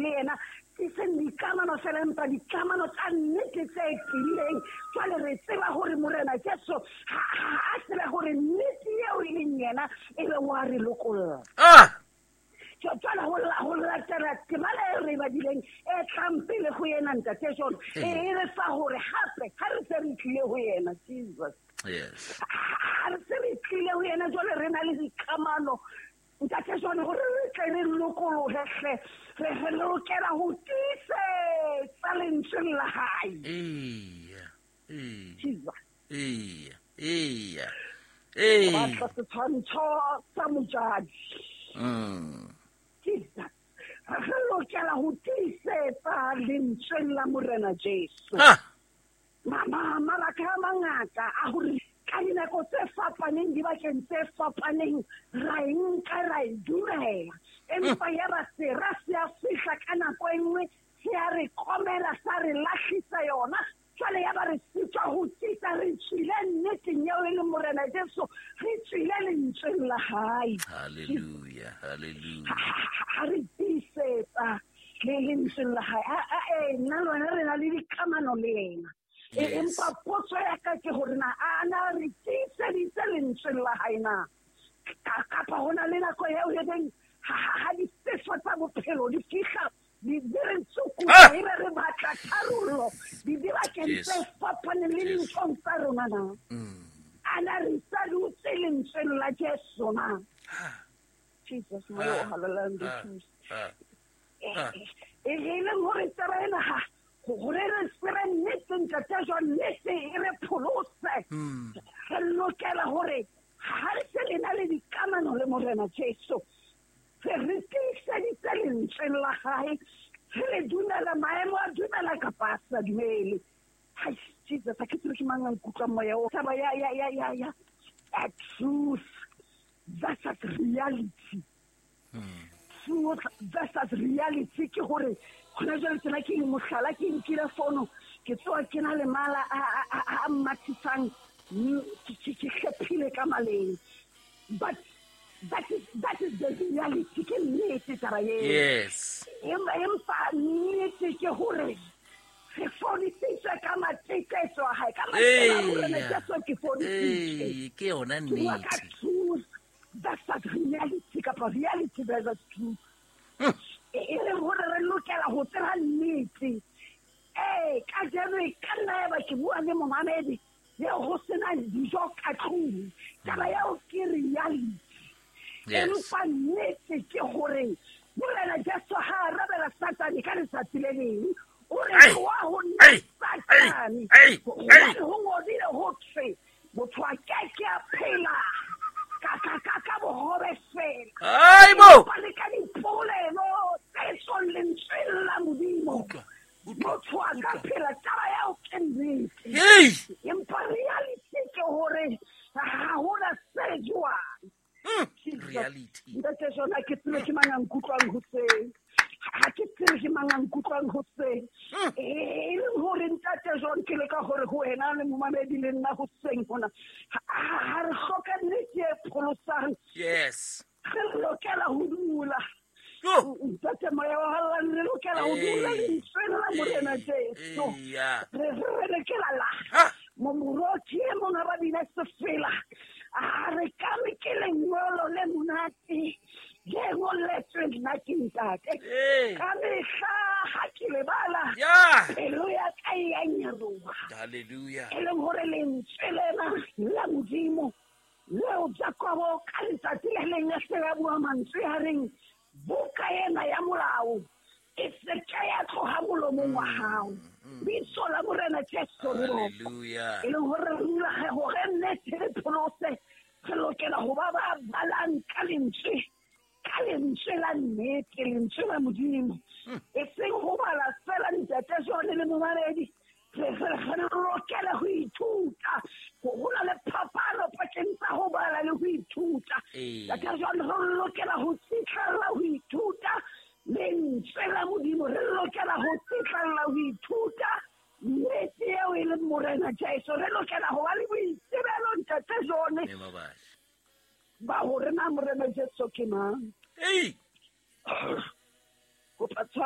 le yena, e seng dikamano fela empa dikamano tsa nnete tse tiileng. Jwale re tseba hore Morena Jesu ha a tsebe hore nnete eo e leng yena e be wa re lokolla. Jwale ho latela temana e re badileng e tlang pele ho yena Ntate John, e re fa hore hape ha re se re tlile ho yena Jesus. Yes. Ha re se re tlile ho yena jwale re na le dikamano Ntate John, hore re tle re lokolohe hle, re lokela ho tiisetsa lentsweng la hae. Eya. Jesus. Eya. Eya. Eya. Batla setshwantsho sa mojadi. Jesus. Re lokela ho tiisetsa lentsweng la Morena Jesu. Mabaka a mangata a hore ka dinako tse fapaneng, dibakeng tse fapaneng, ra e nka ra e dumela. Empa ya ba sera se a fihla ka nako e nngwe, se a re komela, sa re lahlisa yona. Jwale ya ba re sitwa ho tiisa, re tswile nneteng eo e leng Morena Jesu, re tswile lentsweng la hae. Hallelujah, hallelujah. Ha re tiisetsa le lentsweng la hae. Nna le wena re na le dikamano le yena. Empa potso ya ka ke hore na a na re tiiseditse lentsweng la hae na? Kapa ho na le nako eo e reng ha difefo tsa bophelo di fihla, di re tsukutla, e be re batla tharollo dibakeng tse fapaneng le dinthong tsa rona na? A na re sa dutse lentsweng la Jesu na? Jesus, moya o halalelang re thuse. E leng hore taba ena ha hore re tsebe nnete Ntate John, nnete e re pholose. Re lokela hore ha re se le na le dikamano le Morena Jesu, re tiiseditse lentsweng la hae, re le dumela maemo a dumela kapa a sa dumele. Hai, Jesus, ha ke tsebe ke mang a nkutlwang moya o. Taba ya truth versus reality. Truth versus reality ke hore hona jwale tsena ke mohlala, ke nkile fono, ke tsoa ke na le mala a mathisang, ke hlephile ka maleng. But that is the reality, ke nnete taba eo. Yes. Empa nnete ke hore re fodisitswe ka mateketso a hae, ka matsela a Morena Jesu ke fodisitswe. Ke yona nnete. Ka truth versus reality, kapa reality versus truth. E leng hore re lokela ho tseba nnete. Kajeno e ka nna ya ba ke bua le momamedi eo ho sena dijo ka tlung. Taba eo ke reality. Empa nnete ke hore Morena Jesu ha arabela Satane ka letsatsi le leng, o re tloha ho nna Satane. Hobane ho ngodile ho thwe motho a ke ke a phela ka bohobe fela. Empa le ka dipolelo tse tswang lentsweng la Modimo. Motho a ka phela, taba eo ke nnete. Empa reality ke hore ha hona se jwang. Reality. Ntate John, ha ke tsebe ke mang a nkutlwang hoseng. Ha ke tsebe ke mang a nkutlwang hoseng. E leng hore Ntate John, ke leka hore ho wena le momamedi le nna hoseng hona, ha re hloka nnete e pholosang. Yes. Re lokela ho dula. Ntate moya wa halalelang, re lokela ho dula lentsweng la Morena Jesu. Re lokela la. Momoroki e mong ha ba bina sefela. A re ka me ke lengolo le monate, le ngoletsweng nna ke ntate. Ka mehla ha ke lebala, pelo ya ka e a nyaroha. Hallelujah. E leng hore lentswe lena la Modimo leo Jakobo ka letsatsi le leng a se a bua mantswe a reng, buka ena ya molao e se ke ya tloha molomong wa hao. Bitso la Morena Jesu re bokwe. Hallelujah. E leng hore re dula hore nnete re pholose, re lokela ho ba ba balang ka lentswe, ka lentswe la nnete, lentswe la Modimo. E seng ho bala fela Ntate John le momamedi, re lokela ho ithuta. Ho na le phapano pakeng tsa ho bala le ho ithuta. Ntate John, re lokela ho tsitlella ho ithuta lentswe la Modimo, re lokela ho tsitlella ho ithuta nnete eo e leng Morena Jesu. Re lokela ho ba le boitsebelo Ntate John ba hore na Morena Jesu ke mang. Kopa